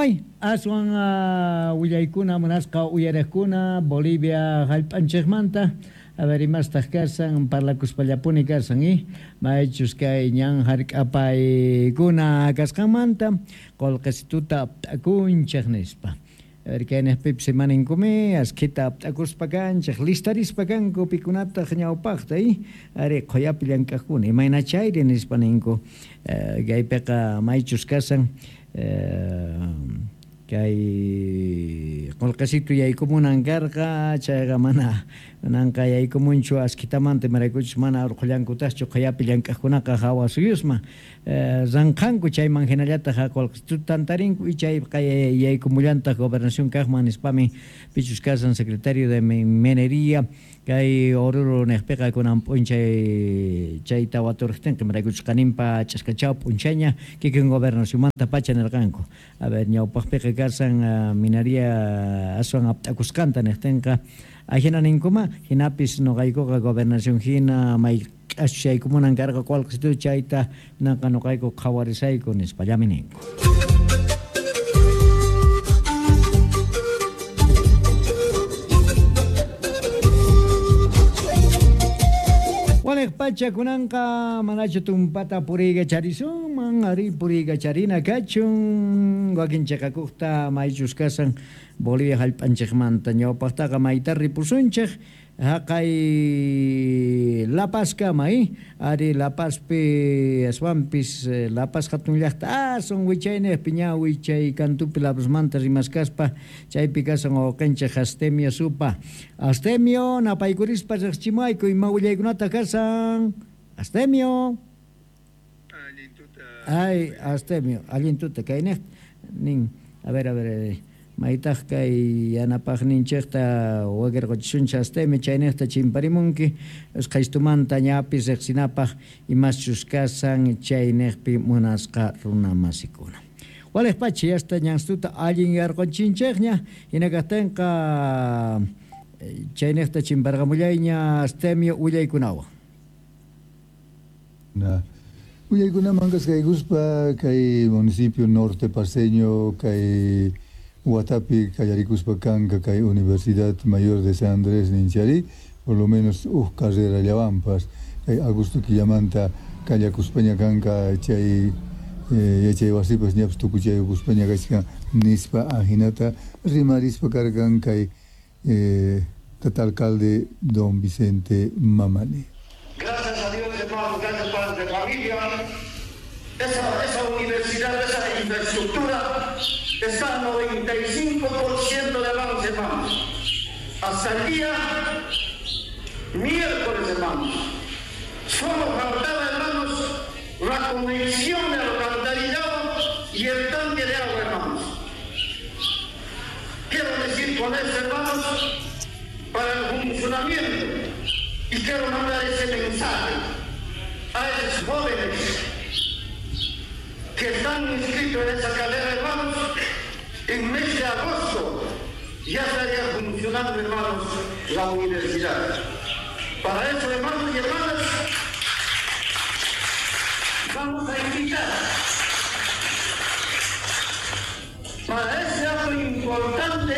May aswan willaykuna munasqa uyariqkuna Bolivia hallp'anchikmanta. A ver, imastaq kashan parlakuspallapuni kashan i maychus kay ñan hark'apaykuna kasqanmanta qolqesituta apt'akunchik nispa. A ver, kayniqpipis imaninkumi askhita apt'akuspa kanchik listarispa kanku pikunataq ñawpaqta i ari qhuyapi llank'aqkuna imayna chayri nispa ninku kaypiqa maychus kashan kay qolqesitu yaykumunan karqa chayqa mana nanqa yaykumunchu askhitamanta imaraykuchus mana urqhullankutaqchu qhuyapi llank'aqkunaqa hawa suyusman ranqhanku chayman hinallataq qolqesituta tantarinku y chayqa yaykumullantaq gobernación kaqman nispami pichus kashan secretario de minería kay Oruro niqpiqa kunan p'unchay chayta waturqtinqa imaraykuchus qaninpa ch'askachaw p'unchayña kikin gobernacionmanta pacha nirqanku. A ver, ñawpaqpiqa kashan minería aswan apt'akusqanta niqtinqa ajina ninkuma hinapis nuqaykuqa gobernación hina mayk'achus yaykumunan karqa qolqesitu chayta nanqa nuqayku qhawarisayku nispallami ninku. Waliq pacha kunanqa manachu tumpata puriykacharisunman ari puriykacharina kachun wakin chiqakuqta maychus kashan Bolivia hallp'anchikmanta ñawpaqtaqa mayta ripusunchik haqay La Pazkama ari La Pazpi aswanpis La Paz hatun llaqta aswan wichayniqpi ña wichay kantupi La Pazmanta rimaskaspa chaypi kashan wawqinchik Astemio Supa. Astemio napaykurispa riqchimuayku ima willaykunata kashan Astemio. Ay, Astemio, allin tuta kayniq nin. A ver, a ver, maytaq kay yanapaqninchikta wakirquchisunchik Astemio chayniqta chimparimunki usqhaystumanta ñapis riqsinapaq imaschus kashan chayniqpi munasqa runamasikuna. Waliq pacha yasta ñanstuta allin yarquchinchikña hina kaqtinqa chayniqta chimparqamullayña Astemio willaykunawan. Willaykunaman kaskaykuspa kay municipio norte paceño kay watapi kallarikuspa kanka kay Universidad Mayor de San Andrés ninchari por lo menos uj carrera llawanpas kay agosto killamanta kallakuspaña kanka chay yachay wasipas ñapas tukuchayukuspaña kachkan nispa ajinata rimarispa karkan kay tata alcalde don Vicente Mamani. Gracias a Dios, hermanos, gracias padres de familia. Esa universidad, esa infraestructura está al 95% de avance, hermanos. Hasta el día miércoles, hermanos. Solo faltaba, hermanos, la conexión de alcantarillado y el tanque de agua, hermanos. Quiero decir con esto, hermanos, para el funcionamiento, y quiero mandar ese mensaje a esos jóvenes que están inscritos en esa carrera, hermanos. En mes de agosto ya estaría funcionando, hermanos, la universidad. Para eso, hermanos y hermanas, vamos a invitar para ese acto importante,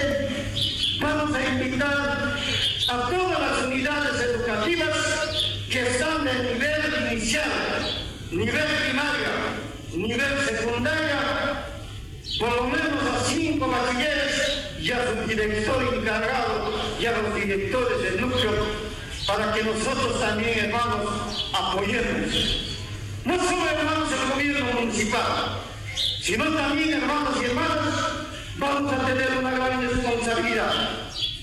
vamos a invitar a todas las unidades educativas que están en nivel inicial, nivel primaria, nivel secundaria, por lo menos a 5 bachilleres y a su director encargado y a los directores del núcleo, para que nosotros también, hermanos, apoyemos. No solo, hermanos, el gobierno municipal, sino también, hermanos y hermanas, vamos a tener una gran responsabilidad.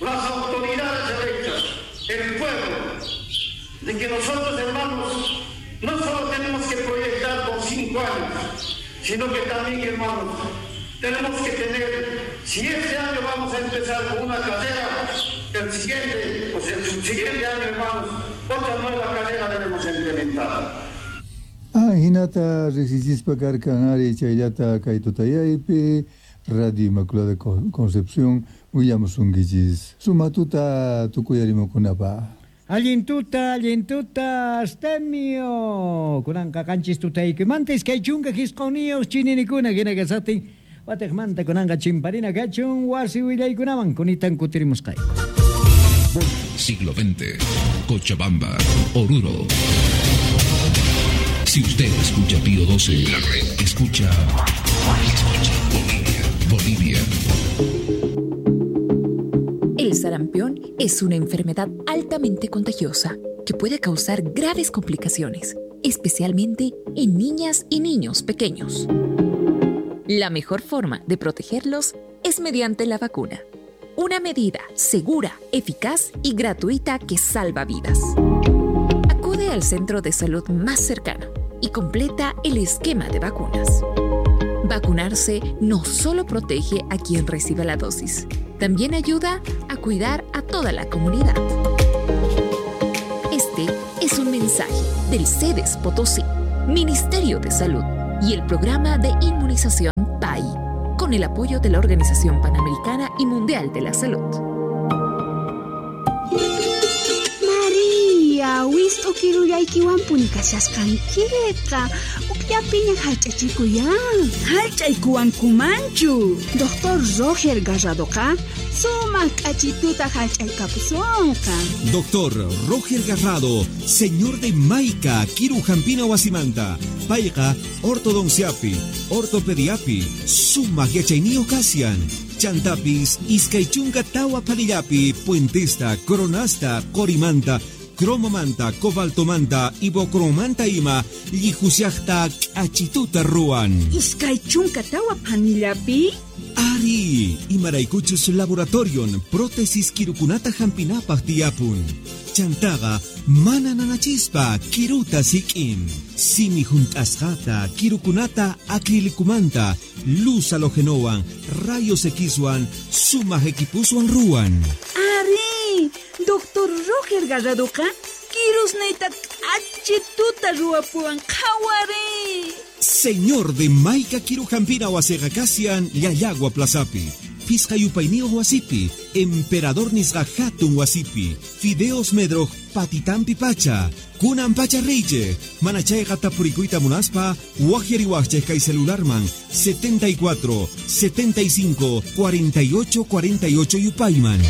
Las autoridades electas, el pueblo, de que nosotros, hermanos, no solo tenemos que proyectar por 5 años, sino que también, hermanos, tenemos que tener, si este año vamos a empezar con una carrera, el siguiente, o sea, el subsiguiente año, hermanos, otra nueva carrera debemos implementar. Hinata riqsichispa karkan ari chayllata kay tutayaypi Radio Inmaculada Concepción willamusunkichis sumatuta tukuyarimukunapa. Allin tuta, Astemio. Kunanqa qanchis tutaykimanta iskay chunka hisq'uniyuq chininikuna hina kasaqtin Watejmanta kunanqa chimparina kachun wasi willaykunaman kunitan kutirimusqayku. Siglo XX, Cochabamba, Oruro. Si usted escucha Pío 12, la red escucha, escucha Bolivia, Bolivia. El sarampión es una enfermedad altamente contagiosa que puede causar graves complicaciones, especialmente en niñas y niños pequeños. La mejor forma de protegerlos es mediante la vacuna. Una medida segura, eficaz y gratuita que salva vidas. Acude al centro de salud más cercano y completa el esquema de vacunas. Vacunarse no solo protege a quien recibe la dosis, también ayuda a cuidar a toda la comunidad. Este es un mensaje del CEDES Potosí, Ministerio de Salud y el Programa de Inmunización PAI, con el apoyo de la Organización Panamericana y Mundial de la Salud. María, wist'u kirullaykiwanpuni kashasqankiqa. Ukllapiña hallch'achikuyan. Hallch'aykuwankumanchu. Doctor Roger Garradoqa sumaq k'achituta hallch'aykapusonqa. Doctor Roger Garrado, señor de Maica, Kirujampina Wasimanta, Payqa, ortodonciapi, ortopediapi, sumaq yachayniyuq kasian. Chantapis, iskay chunka tawa phanillapi, puentesta, coronasta, qorimanta, cromomanta, cobaltomanta, ibocromanta ima, llijusiajta k'achituta ruwan. 24 phanillapi? Ari, imaraykuchus laboratorion, prótesis kirukunata hampinapaj tiyapun. Chantaqa mana nanachispa kiruta sik'in. Simi junt'asqata, kirukunata acrilicumanta, luz halogenowan, rayos Xwan, sumaq equipuswan ruwan. Ari, Doctor Roger Garradoqa kirusniyta k'achituta ruwapuwan qhawari. Señor de Maica Kirujampina wasiqa kasian Llallagua Plazapi. Pisqa yupayniyuq wasipi, Emperador nisqa hatun wasipi, Fideos Medroj patitampi pacha, kunan pacha reyche, manachayqa tapurikuyta munaspa, waqyariwaqchej kay celularman 74 75 48 48 yupayman.